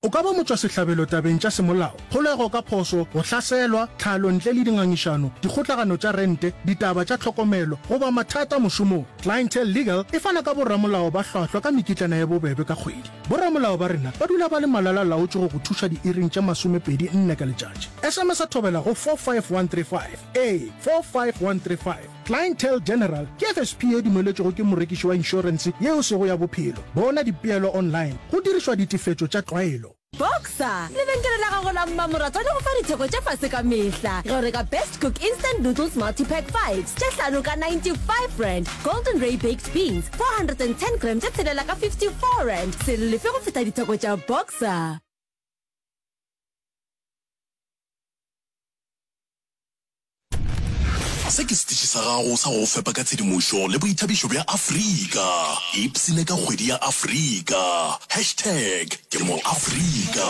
O ka ba motšwasehlabelo tabeng tša semolao, kgolego ka phošo, go hlaselwa, tlhalo ntle le dingangišano, dikgotlagano tša rente, ditaba tša tlhokomelo, goba mathata mošomong. Clientele Legal e fana ka boramolao ba hlwahlwa ka mekitlana ye bobebe ka kgwedi. Boramolao ba rena ba dula ba le malala-laotšwe go go thuša diiring tše 24 ka letšatši. SMS-a Thobela go 45135. Ee, 45135. Clientele General ke FSP ye dumeletšwego ke morekiši wa inšorense ye e sego ya bophelo. Bona dipeelo online go dirišwa ditefetšo tša tlwaelo. Boxer, lebenkele la gago la mmamoratwa le go fa ditheko tša fase ka mehla ge o reka Best Cook Instant Noodles Multi-Pack Fives tše hlano ka R95, Golden Ray Baked Beans 410 gram tše tshelela ka R54. Se lefe go feta ditheko tša Boxer. Se ke setiši sa gago sa go go fepa ka tshedimošo le boithabišo bja Afrika. Ipshine ka kgwedi ya Afrika. Hashtag ke mo Afrika.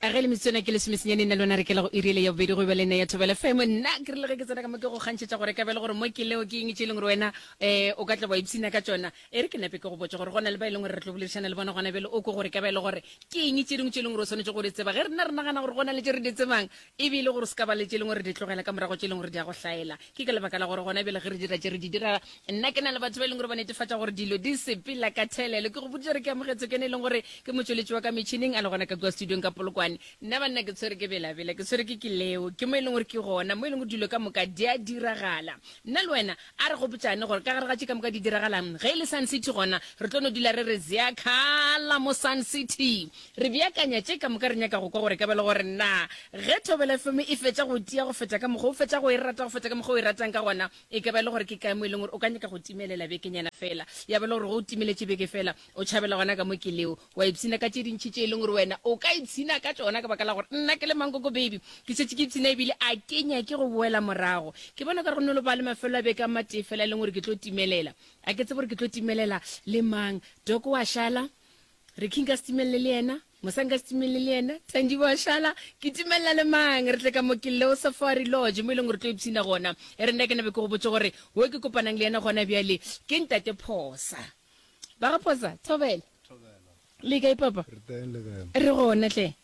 Ge le metsotswana ke lesomesenyane nna le wena re kela go iri ele ya bobedi go be le nna ya Thobela FM. Nna ke rile ge ke tsena ka mo ke go kgantšhetša gore ka be le gore mo ke leo ke eng tše e leng gore wena um o ka tla wa ipshina ka tšona. E re ke nape ke go botše gore go na le ba e leng gore re tlo boledišana le bona gona bjale o kwe gore ka ba e le gore ke eng tše dingwe tše e leng gore o swanetše go di tseba. Ge rena re nagana gore go na le tše re di tsebang, e be e le gore se ka ba le tše e leng gore re di tlogela ka morago tše e leng gore di a go hlaela. Ke ka lebaka la gore gona bjale ge re dira tše re di dira, nna ke na le batho ba e leng gore ba netefatša gore dilo di sepela ka thelelo. Ke go boditše gore ke amogetswe ke ene e leng gore ke motšweletši wa ka metšhineng a le gona ka kua studiong ka Polokwane. Nna banna ke tshwere ke belabela, ke tshwere ke ke leo, ke mo e leng gore ke gona mo e leng gore dilo ka moka di a diragala. Nna le wena A re gopotšane gore ka gare ga tše ka moka di diragalang, ge e le Sun City gona re tlo no dula re re Ziyakhala mo Sun City. Re beakanya tše ka moka re nyaka go kwa gore ka ba le gore na ge Thobela FM e fetša go tia go feta ka mokgwa o fetša go e rata go feta ka mokgwa o e ratang ka gona, e ka ba e le gore ke kae mo e leng gore o ka nyaka go timelela bekenyana fela. Ya ba le gore ge o timeletše beke fela o tšhabela gona ka mo ke leo wa ipshina ka tše dintši tše e leng gore wena o ka ipshina ka tšona ka baka la gore nna ke le mankoko baby ke šetše ke ipshina ebile a ke nyake go boela morago. Ke bona ka re go no ba le mafelo a beke a matee fela e leng gore ke tlo timelela. A ke tsebe gore ke tlo timelela le mang. Doko wa šala, Ricky nka se timelele le yena, Mosa nka se timelele le yena, Thandi wa šala, ke timelela le mang? Re tle ka mo ke Leo Safari Lodge mo e leng gore tlo ipshina gona. E re nna ke nabe ke go botše gore wo ke kopanang le yena gona bjale ke Ntate Phosa. Ba ga Phosa, thobela. Le kae papa? Re teng le kae? Re gona hle.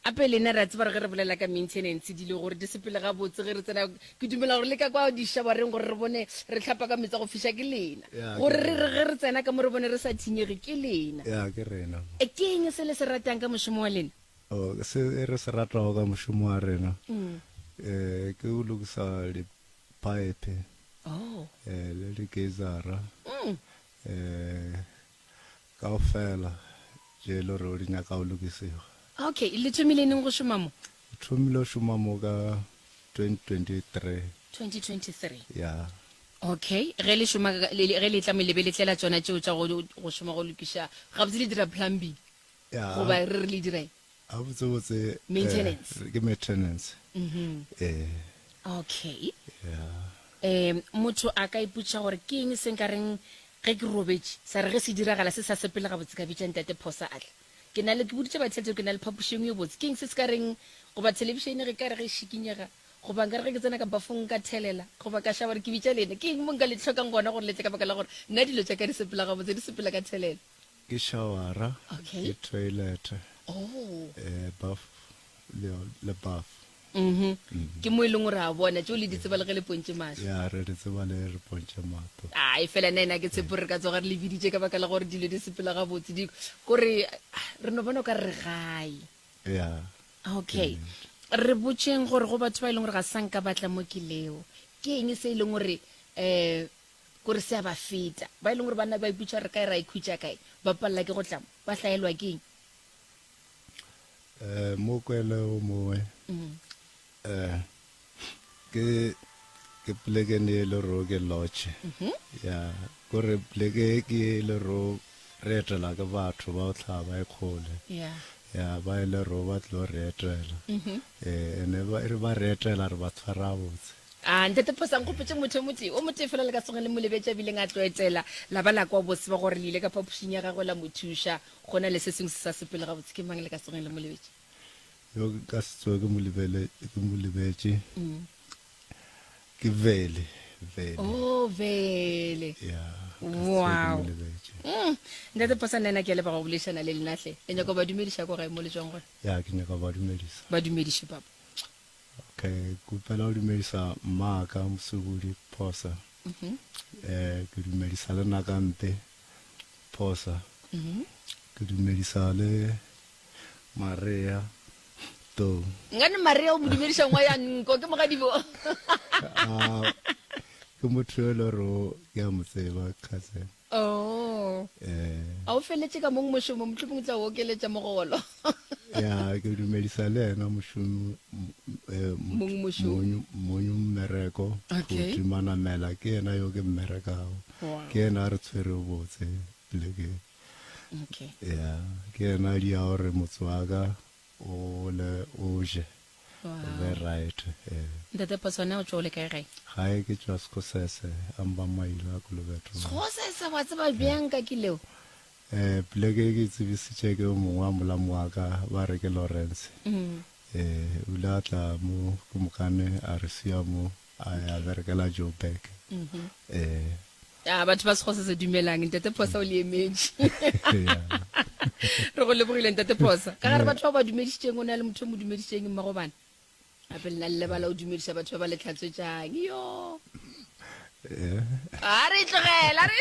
Ape lena re a tseba gore ge re bolela ka maintenance dilo gore di sepele gabotse ge re tsena ke dumela gore le ka kwa dišabareng gore re bone re hlapa ka meetse a go fiša ke lena. Ya, Gore ke re rena. re ge re tsena ka mo re bone re sa thinyege ke lena. Ya, ke rena. E, ke eng se le se ratang ka mošomo wa lena? Oh, se re se ratago ka mošomo wa rena, eh, ke go lokisa di-pipe, Oh. eh, le di-geyser-a, eh, Kaofela tše e le gore di nyaka go lokisiwa. Okay, le thomile neng go šoma mo? Re thomile go šoma mo ka 2023. 2023. Ya. Okay, ge le šoma ge le tla mo le be le tlela tšona tšeo tša go go šoma go lokiša, gabotse le dira plumbing? Ya. Goba re re le dira eng? Gabotsebotse Maintenance. Eh, ke maintenance. Mhm. Eh. Okay. Yeah. Eh, motho a ka ipotšiša gore ke eng se nka reng ge ke robetše sa re ge se diragala se sa sepele gabotse ka bitša ntate Phosa a tla. Ke na le ke boditše batheeletši gore ke na le phapoši e nngwe ye botse. Ke eng se se ka reng goba thelebišene ge ka re ge e šikinyega goba nka re ge ke tsena ka bafong nka thelela goba ka šaba gore ke bitša lena. Ke eng mo nka le hlokang gona gore le tle ka baka la gore nna dilo tša ka di sepela gabotse di sepela ka thelelo. Ke showara, Okay. ke toilet, Oh. eh, bath le, le bath. Mhm. Ke mo e leng gore a bona tšeo le di tseba le ge le pontše mahlo. Ya, re di tseba le re pontše mahlo. Ai, fela nna ena ke tshepo re ka tsoga re le biditše ka baka la gore dilo di sepela gabotse di kore re no bona o ka re re gae. Ya. Okay. Re botšeng gore go batho ba e leng gore ga sa nka batla mo ke leo. Ke eng se e leng gore eh Kore se a ba feta. Ba e leng gore ba nna ba ipotša re kae ra ikhutša kae, ba palela ke go tla mo, ba hlaelwa ke eng? Eh, mo kwele o mongwe eh ke ke poleke ne e le ro ke lodge ya kore poleke ke e le ro re etela ke batho ba go hlaha ba e kgole Yeah. ya ba e le ro ba tlo re etela eh ene ba re ba re etela re ba tshwara botse A Ntate Phosa, nkgopotše motho o motee, o motee fela le ka tsoge le mo lebetše a bileng a tlo etela, la ba la kwa bose ba gore le ile ka phapošing ya gagwe la mo thuša. Go na le se sengwe se sa sepele gabotse, ke mang le ka tsogeng le mo lebetše? Yo ke ka se tsoge ke mo lebele, ke mo lebetše, ke Vele, Vele. Oh, Vele. Ya. Wow. Mm. Ntate Phosa nna ke a leboga go boledišana le lena hle. Le nyaka go ba dumediša ko gae mo le tšwang gona? Ya, ke nyaka go ba dumedisa. Ba dumediše papa. Okay, ke kgopela go dumedisa mmaka Mosubudi Phosa. Mm Eh, ke dumedisa le Nakampe Phosa. Mm Ke dumedisa le Maria Tou. Nkane Maria o mo dumediša ngwa ya nko ke mogadibo. Ah, ke motho yo e le gore ke a mo tseba cousin. Oh. Eh. A o feletše ka mong mošomo mohlomong o tla o okeletša mogolo. Ya, ke dumedisa le yena mošomi eh, Mong mošomo. mong mmereko. Okay. Phuti Manamela ke yena yo ke mmerekago. Wow. Ke yena a re tshwerego botse polekeng. Okay. Ya, ke yena a dia gore motse wa ka o le o je. Wow. O be right. Eh. Ntate Phoswana o tšwa o le kae gae? Gae ke tšwa Sekgosese, a mba mailo a Kolobeto. Sekgosese wa tseba bjang ka ke leo? Eh, poleke e ke e tsebisitše ke yo mongwe wa molamo wa ka, ba re ke Lawrence. Mm. Eh, o ile a tla mo ke mokane a re sia mo a ya berekela Joburg. Mm -hmm. Eh. A batho ba Sekgosese dumelang, Ntate Phosa o le emetše. Re go lebogile Ntate Phosa. Ka gare batho ba ba dumedišitšeng o na le motho o mo dumedišitšeng mmago bana. Gape lena le lebala o dumediša batho ba ba le tlhatswetšang. Yo. A re tlogela re.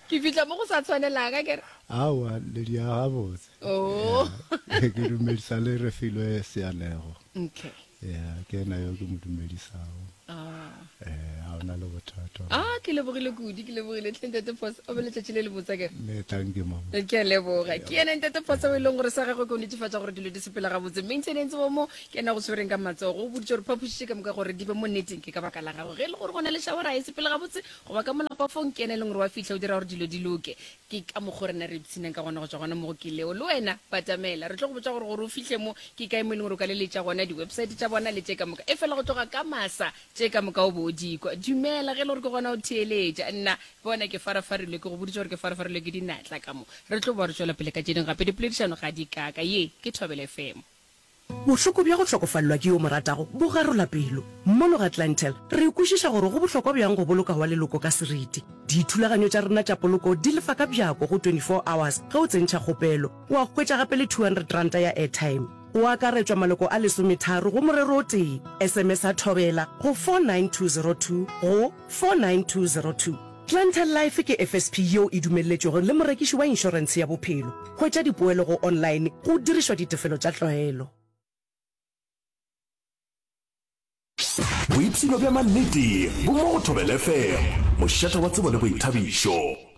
Ke fihla mo go sa tshwanelang a kere. Aowa le dia gabotse. Oh. Ke dumedisa le Refilwe Seanego. Okay. Ya, ke yena yo ke mo dumedisago. Ah. Eh, ga ona le bothata. Ah, ke lebogile kudu, ke lebogile tlhe Ntate Phosa. O be letšatši le le botsa kere. Le thank you mama. Ke a leboga. Ke yena Ntate Phosa o e leng gore sa gagwe ke go netefatša gore dilo di sepela gabotse. Maintenance wa mo ke yena go tshwereng ka matsogo. O boditše gore phapoši tše ka moka gore di be mo nneteng ke ka baka la gagwe. Ge e le gore go na le shawara ga e sepele gabotse goba ka molapafong ke yena e leng gore wa fihla o dira gore dilo di loke. Ke ka mokgo rena re ipshinang ka gona go tšwa gona mo go ke leo. Le wena, batamela. Re tlo go botša gore gore o fihle mo, ke kae mo e leng gore o ka leletša gona, di-website tša bona le tše ka moka. Efela go tloga ka masa, tše ka moka o bo o di kwa. Dumela, ge e le gore ke gona o theeletša. Nna, bona ke farafarilwe, ke go boditše gore ke farafarilwe ke dinatla ka mo. Re tlo boa re tšwela pele ka tše dingwe gape. Dipoledišano ga di kaka. Ye ke Thobela FM. Bohloko bja go hlokofalelwa ke yo o mo ratago bo garola pelo. Mono ga Clientele, re kwešiša gore go bohlokwa bjang go boloka wa leloko ka seriti. Dithulaganyo tša rena tša poloko di lefa ka bjako go 24 hours ge o tsentšha kgopelo. Wa hwetša gape le R200 ya airtime. Go akaretšwa maloko a lesometharo go morero o tee. SMS-a Thobela go 49202 go 49202. Clientele Life ke FSP yeo e dumelletšwego le morekiši wa inšorentshe ya bophelo. Hwetša dipoelo go online go dirišwa ditefelo tša tlwaelo. Boipshino bja mannete bo mo go Thobela FM, mošate wa tsebo le boithabišo.